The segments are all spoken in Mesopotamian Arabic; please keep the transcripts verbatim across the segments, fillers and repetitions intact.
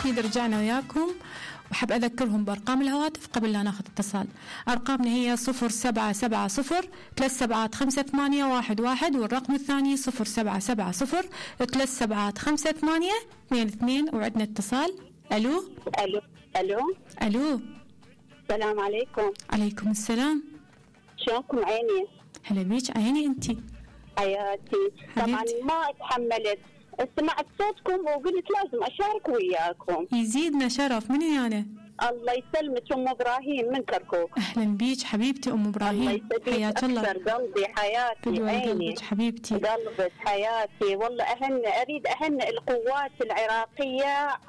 أكيد رجعنا وياكم، وحب أذكرهم بأرقام الهواتف قبل لا ناخذ اتصال. أرقامنا هي صفر سبعة سبعة صفر ثلاث سبعات خمسة ثمانية واحد واحد، والرقم الثاني صفر سبعة سبعة صفر ثلاث سبعات خمسة ثمانية اثنين اثنين. وعندنا اتصال. ألو ألو ألو ألو السلام عليكم. عليكم السلام. شلونكم عيني؟ هلا بيك عيني أنتي حياتي. طبعا ما اتحملت، سمعت صوتكم وقلت لازم أشارك وياكم. يزيدنا شرف. من أنا؟ الله يسلمك أم إبراهيم من كركوك. أهلا بيك حبيبتي أم إبراهيم، حياك الله. قلبي حياتي عيني قلبك حبيبتي، قلبك حياتي. والله أهن أريد أهن القوات العراقية،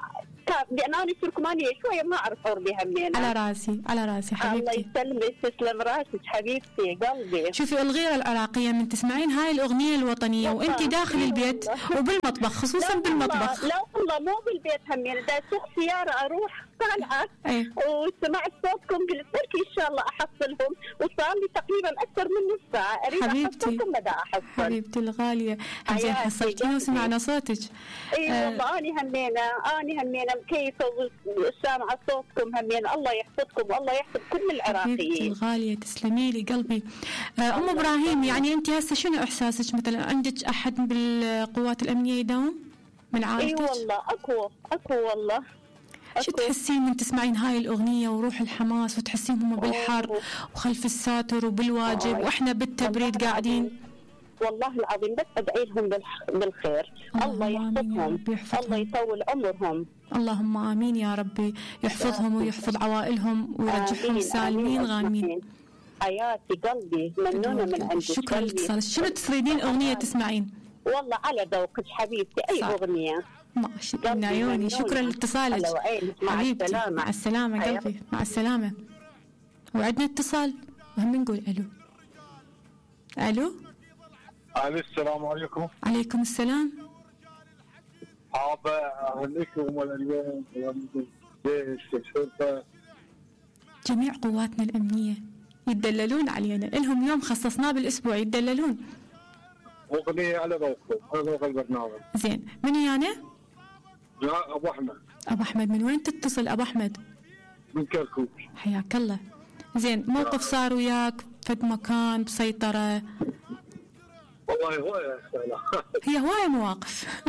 لأن أنا تركمانية شوية ما أعرف بها منين. على راسي على راسي حبيبتي. الله يسلمك، تسلم راسك حبيبتي قلبي. شوفي الغيرة العراقية من تسمعين هاي الأغنية الوطنية وأنت داخل البيت وبالمطبخ، خصوصا لا بالمطبخ. لا والله مو بالبيت همين، دا سوق سيارة أروح طالعة أيه. وسمعت صوتكم قلت بركي إن شاء الله أحصلهم، وصار لي تقريبا أكثر من نص ساعة أريد أحصلكم مدى أحصل. حبيبتي الغالية، زين حصلتينا وسمعنا صوتك. اي آه. والله أنا همينة أنا همينة مكيفة وسامعة صوتكم همينة. الله يحفظكم والله يحفظ كل العراقيين. حبيبتي الغالية تسلمي لي قلبي. آه أم إبراهيم، يعني أنت هسه شنو إحساسك؟ مثلا عندك أحد بالقوات الأمنية يداوم من عائلتك؟ اي والله أكو أكو والله. شو تحسين من تسمعين هاي الأغنية وروح الحماس وتحسين هم بالحر وخلف الساتر وبالواجب وإحنا بالتبريد قاعدين؟ والله العظيم بس أدعي لهم بالخير. الله يحفظهم، الله يطول عمرهم. اللهم آمين يا ربي، يحفظهم ويحفظ عوائلهم ويرجعهم سالمين غانمين. حياتي قلبي ممنونة من عندك. شكرا لاتصالك. شنو تريدين أغنية تسمعين؟ والله على ذوقك حبيبتي، أي صح. أغنية ماشي من عيوني. شكرا لاتصالك حبيبتي. مع السلامة قلبي، مع السلامة. وعندنا اتصال وهم نقول ألو. ألو علي السلام عليكم. عليكم السلام. حابة أهنيكم اليوم الجيش الشرطة جميع قواتنا الأمنية يتدللون علينا، لهم يوم خصصناه بالأسبوع يتدللون. أغنية على ذوقكم، على ذوق البرنامج. زين من أنا؟ لا أبو أحمد. أبو أحمد من وين تتصل أبو أحمد؟ من كركوك. حياك الله. زين موقف صار وياك فد مكان بسيطرة؟ والله هواية هي هواية مواقف.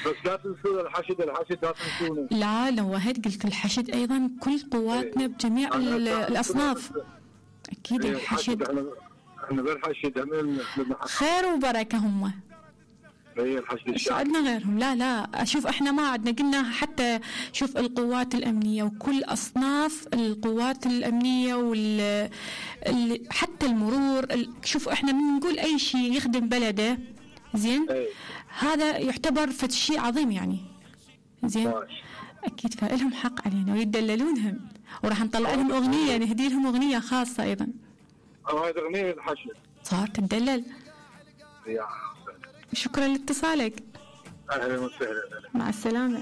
بس لا تنسون الحشد، الحشد لا تنسونه. لا نوهت قلت الحشد أيضا كل قواتنا بجميع الأصناف. أكيد الحشد احنا بالحشد هم خير وبركة هم. هي الحشد الشعبي. عندنا غيرهم؟ لا لا أشوف احنا ما عندنا. قلنا حتى شوف القوات الأمنية وكل أصناف القوات الأمنية وال حتى المرور. شوف احنا من نقول أي شيء يخدم بلده زين أي. هذا يعتبر فد شيء عظيم يعني. زين ماشي. أكيد فلهم حق علينا ويدللونهم، وراح نطلع لهم أغنية نهدي لهم أغنية خاصة أيضا. هاي أغنية الحشد صار تدلل. يا شكرا لاتصالك. أهلا وسهلا. مع السلامة.